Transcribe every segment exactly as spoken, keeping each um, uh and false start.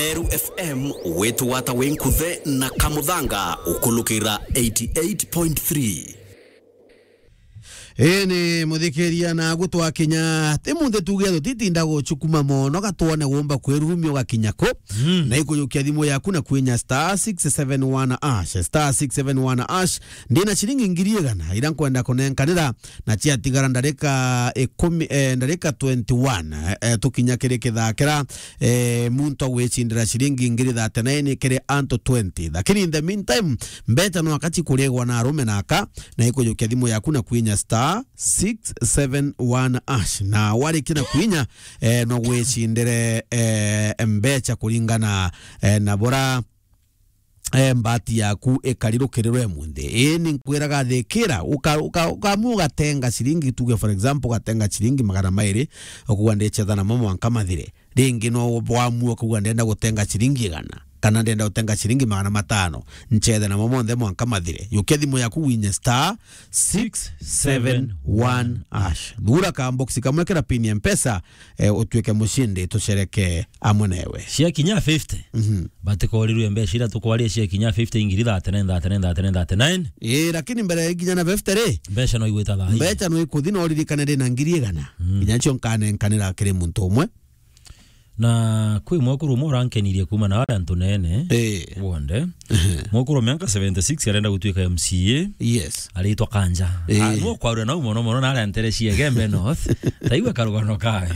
Meru F M, wetu wata wi nkuthe na Kamuthanga, ukulukira eighty-eight point three. Ii ni muthikiria na gutwakinya ti munthe tuge tutitinda gucukuma mono gatwone wumba kwirurumia ugakinya ku. Mm. Na ikujukia thimu yaku na kwinya star six seven one hash, star six seven one hash. Ndina ciringi ngiri igana ira nkwenda kunenkanira na ciatigara ndarika ikumi, eh, ndarika twenty-one, eh, eh, tukinya kiri kithakira, eh, muntu agwicindira ciringi ngiri thirty-nine kiri antu twenty. Lakini in the meantime, mbeca no akaci kurigwa na arume na aka, na ikujukia thimu yaku na kwinya star six seven one hash. Na warikia na kwinya, eh, no gwicindire, eh, mbeca kuringana, eh, na bora eh, mbati yaku ikari rukirirwe munthi. Ii ni nkwiraga thikira, uka-, uka-, ukamua ugatenga ciringi, tuge for example, ugatenga ciringi magana mairi, ukuga ndicetha namo mwanka mathire. Ringi no wamua ukuga ndenda gutenga ciringi igana, kana ndenda gutenga ciringi magana matano, ncethe namo monthe mwanka mathire. Yukia thimu yaku winye star six seven one hash. Thura ka box kamwe kira pin ya Mpesa, eh, utuike mucindi, tucereke amwe newe. Ciakinya fifty. Mhm. Batikorirwe mbeca iria tukwaria ciakinya fifty ingiri thirty-nine, thirty-nine, thirty-nine, thirty-nine. Ii, lakini mbere ya ikinya na fifty ri, mbeca no igwita thaa ii. Mbeca no ikuthi, no uririkane ndina ngiri igana. Mm. Kinya cio nkanenkanira kiri muntu umwe. Na kwi mwekuru umwe urankenirie kuuma na aria antu nene. Ii. Wonde. Ehe. Mwekuru wa miaka seventy-six arenda gutuika M C A. Yes. Aritwa Kanja. Ii. Ah, no kwarua nau mono mono na aria ntere cia Igembe North. Taigua karugano kawe.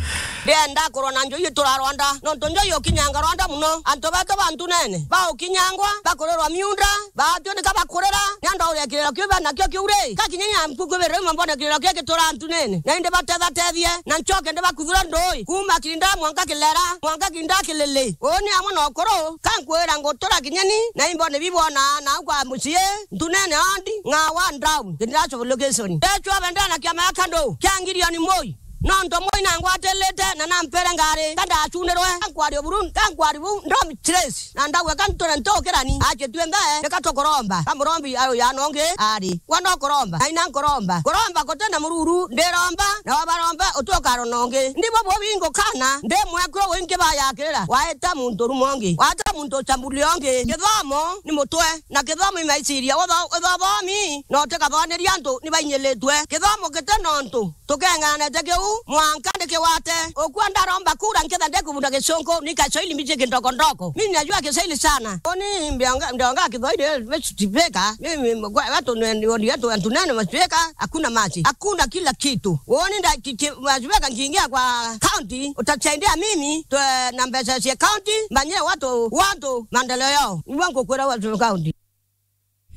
Ndienda kurwa na njui itura Rwanda, nontu njui ukinyanga Rwanda muno. Antu betu ba ntunene, baukinyangwa, bakurirwa miunda, baatio nika bakurira, ni andu auria kiriro kiu bena kio kiu ri. Gakinya nya mpuku biri, uma mbone kiriro kia gitura ntunene. Na indi batethatethie, na ncoke ndibakuthura ndui. Kuuma Kirinda mwanka Kilera, mwanka Kirinda Kilili. Uuni amwe na ukuru, kankwira ngutura kinyeni, na imbone bibona, na kwa mucii, ntunene andi, ng'awa ndau, Kirinda Sub Location. Ndechwa bendera na kiama ya kandu, kia ngirioni moi. Nontu moi nangwatirite na nampere ngari, ka ndacunirwe, ka nkwari o buru, ka nkwari bu, ndomi trace, na ndauga ka nture ntukirani, acie tue mbee, nika tukuromba. Ka murombi ayo ya nongi ari, gwa no kuromba, na ina nkuromba. Kuromba guti na mururu, ndiromba, na wabaromba, utukarona ungi. Ndibo bubi ngukana, ndi mwekuru wingi bayakirira, waita muntu rumo ungi, waita muntu uchambuli ungi. Kithomo ni mutwe, na kithomo imaiciria, utho-, uthobomi, no tikathoniria antu ni bainyilitwe. Kithomo giti nontu, tukeng'anete kiu, mwanka ndikigwate. Ukua ndaromba kura nketha ndikubunda gicunku, ni Kiswahili mbici kindoko ndoko. Mimi najua Kiswahili sana. Oni mbionga, mbionga Kiswahili, eh, mechutipeka. Mimi, kwa watu ni, ni, ni watu, watu nene machupeka, hakuna maji. Hakuna kila kitu. Uoni nda, ki, ki, machupeka nkiingia kwa county, utasaidia mimi, twe, na mbeca cia county, mbanyie watu, watu maendeleo yao. Ni wangu kwira watu county.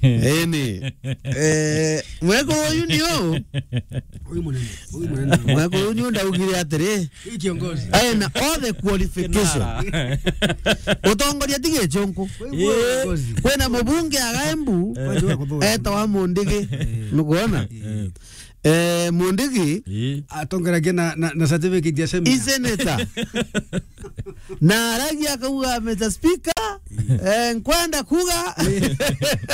Eni. Eh, mwekuru uyu ni u? Uyu munene, uyu munene. Mwekuru uyu ni u ndaugire atiri. Hii kiongozi. Ena all the qualification. Kinara. Utongoria ti gicunku. Uyu kiongozi. Kwina mubunge aga Embu, etawa Mundigi. Eh. Nukwona? Eh. Eh, Mundigi. Ii. Atongeragia na, na, na certificate ya seminary. I senator. Na aragia akauga, "Mister Speaker, eh, nkwenda kuga."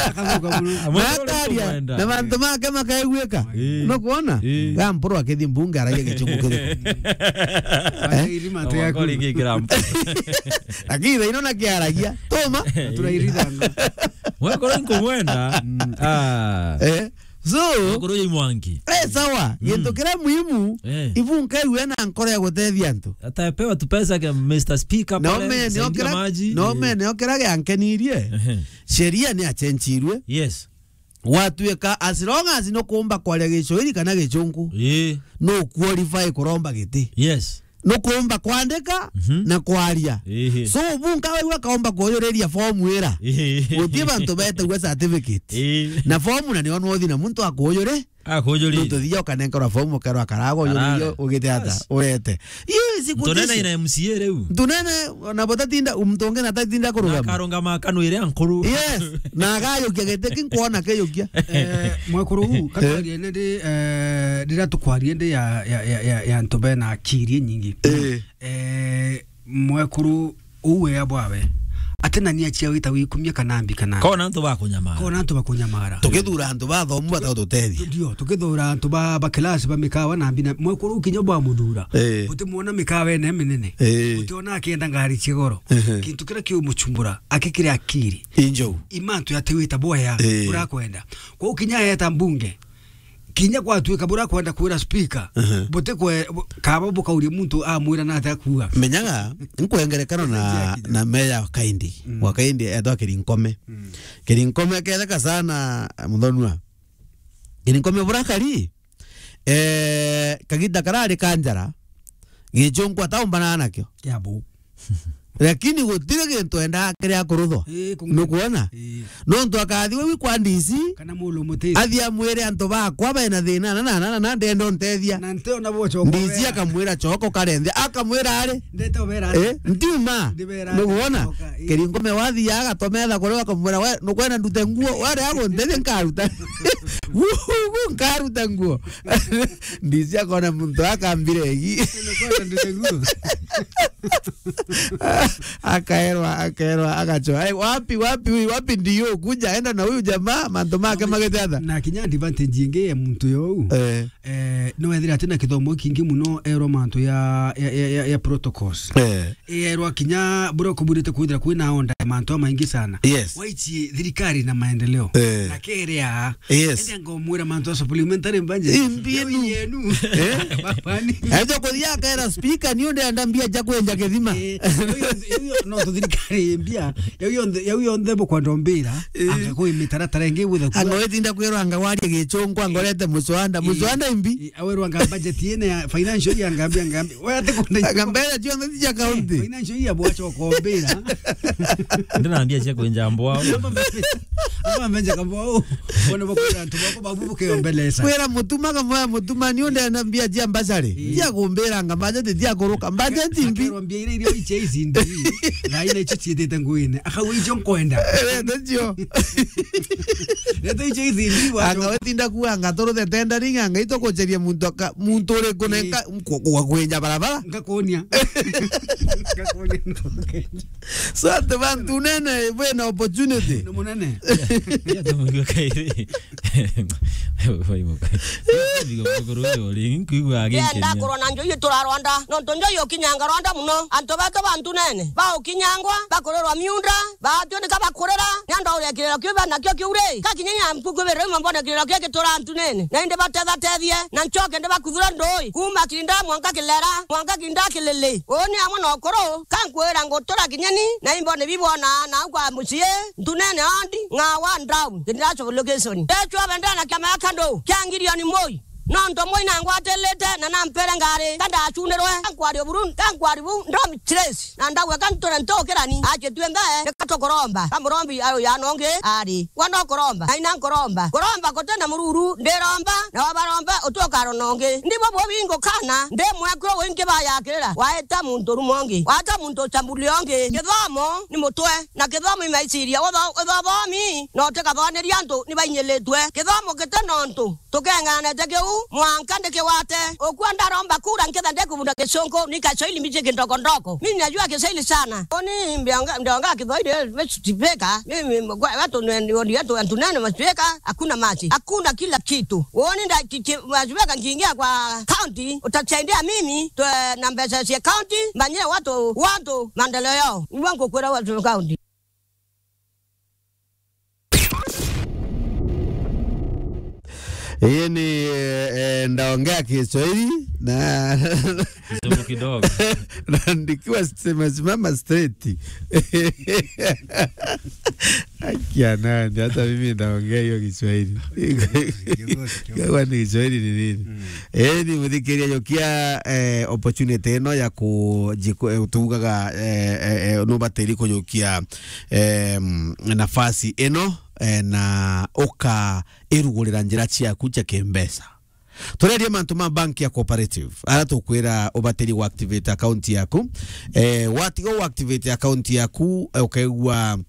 Akathauka muno. Na akaria, na mantu make makaiguika. Ii. Nukwona? Ii. Ga mpuru akithii mbunge aragia gicunku kiriku? Akairi mate yaku. Lakini thaino nakiaragia. Tuma. Turairithanga. Mwekuru nkumwenda. Mm. Ah. Eh? So, Mukuru ya Mwangi. Eh, sawa. Mm. Gintu kiria muhimu, eh, ibu nkaigue na nkoro ya gutethia antu. Atapewa tu pesa kia Mister Speaker. Na pale, ume, saidia niokira, maji. Na ume, eh, niokira giankenirie. Ehe. Sheria ni achenchirwe. Yes. Gwatuika, as long as nukumba kwaria Gicwahili kana Gichungu, eh, no qualify kuromba giti. Yes. Nukumba kwandika, mhm, na kwaria. Ehe. So, bu nkawaigua kaomba kuyuriria fomu ira. Ehe. Guti bantu betagua certificate. Ehe. Na fomu na nio nwothi na muntu akuyuri. Akuyuri. Nontu thia ukanenkerwa fomu, ukerwa karago, karara, uyuririo, ugite ata, bas, urete. Yes, ntunene ina M C A riu. Ntunene, na botatinda, muntu ungi na tatinda kurugama. Na akarungama akanwire ankuru. Yes, na agayukia giti ki nkwona kiyukia. Eh, mwekuru u, eh, katwarie ni ndi, eh, rira tukwarie ndi ya, ya, ya, ya, ya antu bena akiri nyingi. Eh. Eh, mwekuru u wea bwawe. Ati nani achia wita wikumia kana mbi kana. Kona antu bakunyamara. Kona antu bakunyamara. Tukithura antu bathomu batagututethia. Ndio, tukithura antu ba, ba class ba mikawa na mbi na mwekuru kinya bwa muthura. Eh. Utimwona mikawa ene minene. Eh. Utiona akienda ngari cia goro. Ehe. Kintu kiria kiumuchumbura, akikire akiri. Injou. Imantu yatiwita boya, Eh. urakwenda. Kwa ukinya eta mbunge, kinya gwatuika bura kwenda kwira speaker, Ehe. buti kwe, bu-, kaba bukauria muntu amwira na atia kuuga. Menyaga, nkwengerekano na, Ndia kinya. na meya Kaindi. Mm. Wa Kaindi etwa Kirinkome. Mm. Kirinkome ketheka sana, Muthonua. Kirinkome burakari, eh, kagita karari kanjara, gichunku ataumbana nakio. Kiabu. Lakini gutiri gintu endaa kiria kuruthwa. Ii, kung'ana. Nukwona? Ii. Nontu akathi we kwa D C, Kana mulu muti. athi amwire antu bakwa bena thina na, na, na, na, na ndenda untethia. Na ntiona bo choko D C wera. akamwira choko karenthe, akamwira ari. Ndete ubera ari. Eh, ntiuma. Ndibera ari. Nukwona? Choka, ii. Kirinkome wathi agatome tha kuria akamwira we, nukwenda ndute nguo, wari aguntethi nkaruta. Wuhu, nkaruta nguo. D C akona muntu akambire egi. Nukwenda ndute nguo. Akaerwa, akaerwa, agacho. "Ai, wapi, wapi huyu, wapi ndio? Kuja, enda na huyu jamaa, mantu make magete atha." Na kinya advantage ingi ya muntu yo u. Eh. Eh, no ethira ati na kithomo kingi muno erwa mantu ya, ya, ya, ya, ya protocols. Eh. Erwa kinya bura kuburite kwithira kwina onda ya mantu amaingi sana. Yes. Waichi thirikari na maendeleo. Eh. Na kerea Yes. Ende ngomwira mantu a supplementary budget. Imbi yenu. Yenu. Eh? Babani. Ajo kuthia akaera speaker ni unde anda mbia ja kwenja kithima. Eh, yo, yo, yo, no, tu thirikari mbia. Yo, yo, yo, yo, nthebo kwa ndombira. Eh. Anga kwi mitaratara ingi withe kuwa. Anga wetinda kwirwa anga warie gichungu, anga urete muswanda. Eh. Muswanda imbi. Eh, awerwa anga budget yene ya financial ya ngambia, ngambia. Wewe ati kunde. Anga mbere cionthe cia county. Eh, financial ya bwacho kombira. Ndina mbia cia kwenja mbwao. Aba menja kambwao. Bona bakwira antu bako babu bukeombelesa. Kwira mutuma kamwe mutuma ni unde na mbia cia mbacari. Ii. Cia kumbira nga budget tia kuruka. Budget imbi. Akerwa mbia iria iria iche ici ndi. Na ina ichi chietete nguine. Akauga icio nkwenda. Eh, ndio. Leta icio ici ndi wa. Anga wetinda kuanga turuthe tendering anga ito kucheria muntu aka, muntu uri kunenka Ii. kwa, kwa kwenja barabara. Ngakunia. Ngakunia. So ati bantu nene bwina opportunity. Ni munene. Ya, ya, tumuigua kairi. Wai muka. Ndigo mukuru uyu uri, nkuigua Ndienda aginkenia. Kurwa na njoji turarwanda, nontu njoji ukinyanga rwanda muno. Antu betu bantu nene, baukinyangwa, bakurirwa miunda, baatwirika bakurira, ni andu uria kiriro kiu bena kio kiu ri. Kakinya nya mpuku biri, mbona kiriro kio gitura antu nene. Na indi batethatethie, na nchoke ndibakuthure ndui, kuuma Kirinda mwanka Kilera, mwanka Kirinda Kilili. Uuni amwe na ukuru, kankwira ngutura kinyeni, na imbone bibona, na kwa mucii, ntunene ondi, ng'a wa ndau, ndiracho location. Ndechwa bendera na kiama ya kandu, kia ngirioni moi. Nontu moi nangwatilite, na nampere ngari, kanda achunirwe, kankwari oburu, kankwari bu, ndomi trace. Na ndauga kanture ntukirani, achitue nthe, nikatukuromba. Kamurombi ayo ya nongi, ari. Gwa no kuromba, na ina nkuromba. Kuromba kuti na mururu, ndiromba, na wabaromba, utuka ronongi. Ndibo bo bingo kana, ndi mwekuru wingi bayakirira. Waeta muntu rumongi, waeta muntu chambuli ongi. Kithomo ni mutwe, na kithomo imaiciria. Utho-, uthobomi, no tikathoniria antu ni bainyilitwe. Kithomo kiti nontu, tukenganete kiu, mwanka ndikiwate. Ukua ndaromba kura nkitha ndikubunda gicunku, ni Kiswahili mbichi kindoko ndoko. Mimi najua Kiswahili sana. Oni mbionga, mbionga Kiswahili, eh, spika. Mimi, kwa watu ne-, ni wodi yetu, antu nene maspika, hakuna maji. Hakuna kila kitu. Uoni nda ki-, ki-, maspika nkiingia kwa county, utasaidia mimi, twe, na mbesa cia county, mbanyie watu, watu maendeleo yao. Ni wangu kwira watu county. Hii ni, eh, eh, ndaongea Kiswahili na Kizungu kidogo. Na nikiwa nimesimama straight. Akia nani, hata mimi ndaongea hiyo Kiswahili. Kwa ni Kiswahili ni nini? Mm. Eh, ni muthikiria yokia, eh, opportunity ino ya kujiku-, eh, tugaga, eh, eh, eh, no bateri kujukia em, nafasi ino, eh, na ukairugurira njira ciaku cia kimbeca. Turerie mantu ma bank ya cooperative, ara tukwira ubatiri wa activate account yaku. Eh, watiga wa activate account yaku, eh, ukaigua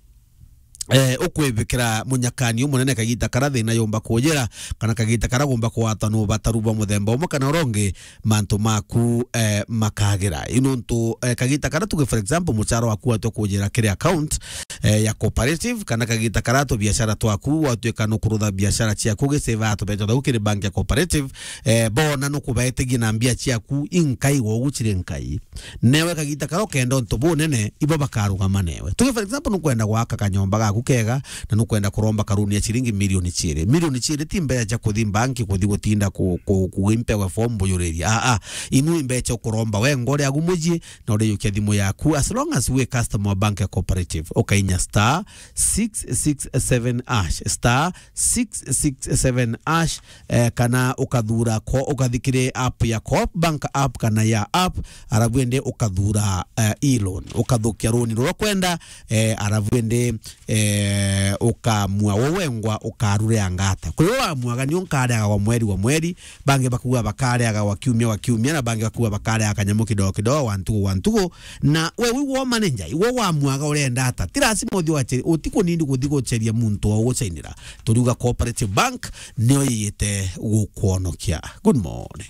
eh, ukwibikira munyakani umunene kagita kara thina yumba kujira, kana kagita kara gumba kugwatwa ni ubataru bwa muthemba umwe kana uria ungi, mantu maku, eh, makagira. Ii nontu, eh, kagita kara tuge, for example, muchara waku watwa kujira kiri account, eh, ya cooperative, kana kagita kara tubiashara twaku watwika nukurutha biashara ciaku ugiseva tubeca twaku kiri bank ya cooperative, eh, bona nukubaetigia na mbia ciaku inkai wogu ciri nkai. Newe kagita kara ukenda untu bunene, ibo bakarugama newe. Tuge, for example, nukwenda gwaka kanyomba gaku kega, na nukwenda kuromba karuni ya ciringi milioni ciiri. Milioni ciiri ti mbeca cia kuthi banki, kuthi gutinda ku-, ku-, kuimpewe form bujuriria. Aa, aa. Inu i mbeca ukuromba we ngore agu mucii, na uriyukia thimu yaku. As long as we customer wa bank ya cooperative, ukainya star six six seven hash, star six six seven hash, eh, kana ukathura ko, ukathi kiri app ya Coop Bank app kana ya app, arabu indi ukathura, eh, e-loan, ukathukia runi ruria ukwenda, eh, arabu indi, eh, ukamua we wengwa ukarureanga ata. Kwi we wamuaga ni unkareaga gwa mweri gwa mweri, bangi bakuga bakareaga gwa kiumia gwa kiumia, na bangi bakuga bakareaga kanyamu kidogo kidogo gwa ntugu gwa ntugu, na we wi wo manager, iwe wamuaga urenda ata. Ti lazima uthi wache-, utikunindi kuthi gucheria muntu wa uguchainira. Turiuga Cooperative Bank niyo yiyite gukwonokia. Good morning.